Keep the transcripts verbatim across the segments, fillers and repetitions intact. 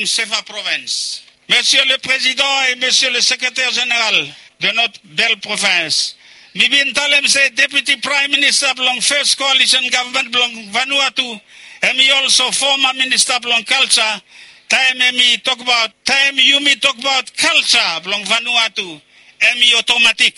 Sefa Provins. Monsieur le Président et Monsieur le Secrétaire Général de notre belle province, mi bin talem se Deputy Prime Minister blong First Coalition Government blong Vanuatu, hemi also former Minister blong Culture. Taem hemi tokbaot, taem yumi tokbaot culture blong Vanuatu, hemi otomatik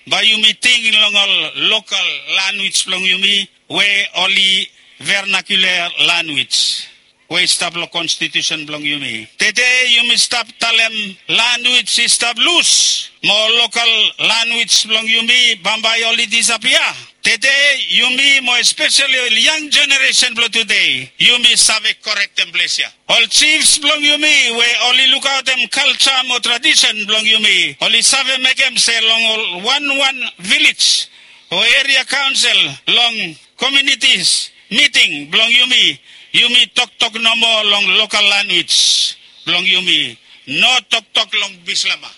bae yumi ting long ol local lanwis blong yumi we oli vernacular lanwis we i stap long konstitusen blong yumi. Tede yumi stap talem lanwis i stap lus, mo local lanwis blong yumi bambae oli disapia. Tede yumi mo espeseli ol yang jeneresen blong tede, yumi save korektem ples ya. Ol jifs blong yumi we oli lukaotem kalja mo tradisen blong yumi, oli save mekem se long ol wanwan vilej o eria kaonsel, long komiunitis miting blong yumi, yumi toktok nomo long lokal lanwis blong yumi, no toktok long Bislama.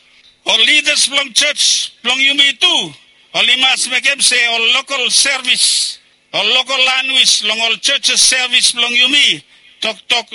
Ol lidas blong jos blong yumi tu oli mas mekem se ol lokal sevis, ol lokal lanwis long ol jos sevis blong yumi, toktok,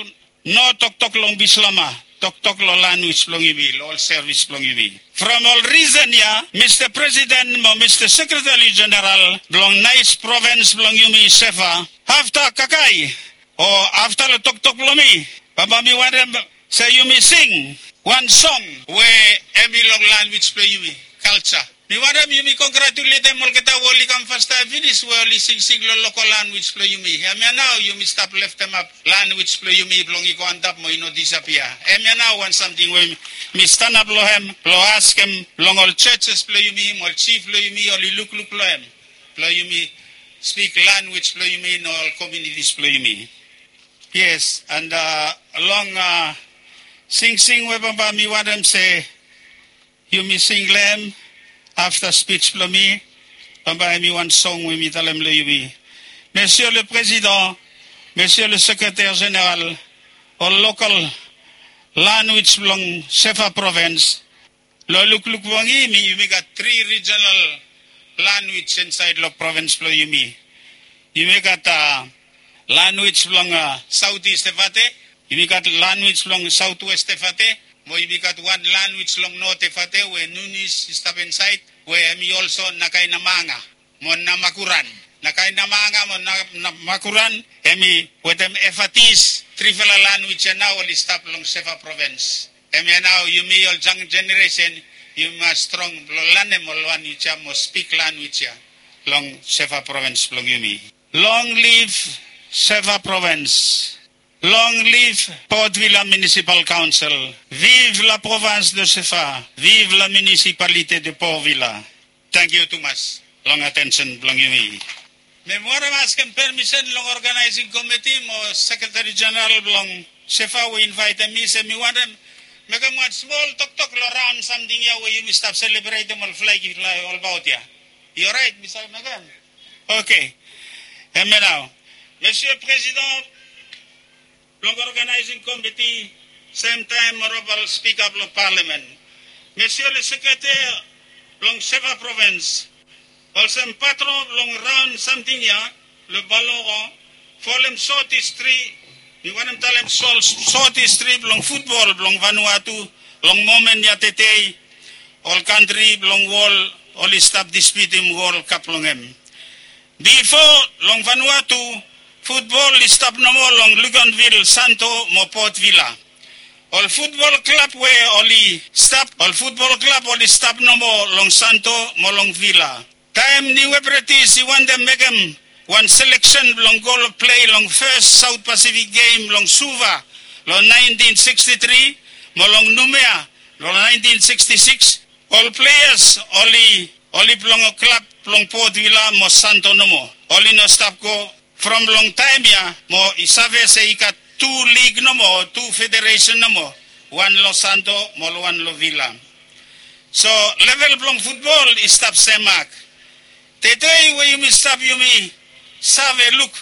no toktok long Bislama, toktok long lanwis blong yumi, long ol sevis blong yumi. From ol risen ya, Mista Presiden mo Mista Sekretari Jeneral blong naes provins blong yumi Sefa, afta kakae o afta long toktok blong mi, bambae mi wantem se yumi sing wan song we hemi long lanwis blong yumi, kalja. Mi wantem yumi kongratuletem olgeta we oli kam fastaem finis we oli singsing long lokal lanwis blong yumi. Hemia nao yumi stap leftemap lanwis blong yumi blong i go antap mo i no disapia. Hemia nao wan samting we mi stanap long hem blong askem long ol jos blong yumi mo ol jif blong yumi oli lukluk long hem blong yumi spik lanwis blong yumi long ol komiunitis blong yumi. Yes, and long singsing we bambae mi wantem se yumi sing long hem afta spij blong mi, bambae hemi wan song we mi talem long yumi. Monsieur le Président, Monsieur le Secrétaire Général, ol lokal lanwis blong Sefa Provins, long lukluk blong yumi, yumi gat tri rijenal lanwis insaed long provins blong yumi. Yumi gat lanwis blong Saot Ist Efate, yumi gat lanwis blong Saot West Efate, mo yumi gat wan lanwis long Not Efate we Nunis i stap insaed, we hemi olso Nakaenamanga mo Namakuran. Nakaenamanga mo Namakuran hemi wetem Efatis, trifala lanwis ya nao oli stap long Sefa Provins. Hemia nao yumi ol jang jeneresen yumi mas strong blong lanem ol lanwis ya mo spik lanwis ya long Sefa Provins blong yumi. Long liv Sefa Provins. Long liv Port Vila Municipal Council. Vive la province de Sefa. Vive la municipalité de Port Vila. Tangkiu tumas long atensen blong yumi. Mi wantem askem permisen long oganaesing komiti mo sekretari jeneral blong Sefa we i invaetem mi se mi wantem mekem wan smol toktok long raon samting ya we yumi stap selebretem ol flag i flae olbaot ya. I oraet mi save mekem? Oke. Hemia nao, Monsieur President blong oganaesing komiti, semtaem Onorabol Spika blong Palamen, Monsieur le Sekretari blong Sefa Provins, olsem patron blong raon samting ya long Baloro, folem sot histri, mi wantem talem sot histri blong futbol blong Vanuatu long momen ya tede, ol kantri blong wol oli stap dispiutim Wol Kap blong hem. Bifo long Vanuatu, futbol i stap nomo long Luganville, Santo mo Port Vila. Ol futbol klab we oli stap, ol futbol klab oli stap nomo long Santo mo long Vila. Taem Niu Hebrides i wantem mekem wan seleksen blong go long plei long fes South Pacific Game long Suva long naentin sikstitri mo long Noumea long naentin sikstisiks, ol pleas oli, oli blong klab blong Port Vila mo Santo nomo. Oli no stap go from long taem ya mo i save se i gat tu lig nomo, tu federesen nomo, wan long Santo mo wan long Vila. So level blong futbol i stap semak. Tede we yumi stap yumi save luk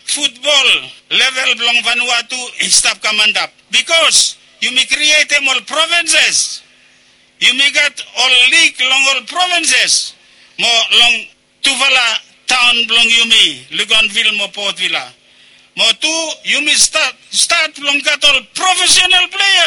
futbol level blong Vanuatu i stap kam antap. Bikos yumi krietem ol provinses. Yumi gat ol lig long ol provinses mo long tufala taon blong yumi, Luganville mo Port Vila. Mo tu yumi stat stat blong gat ol profesenal plea.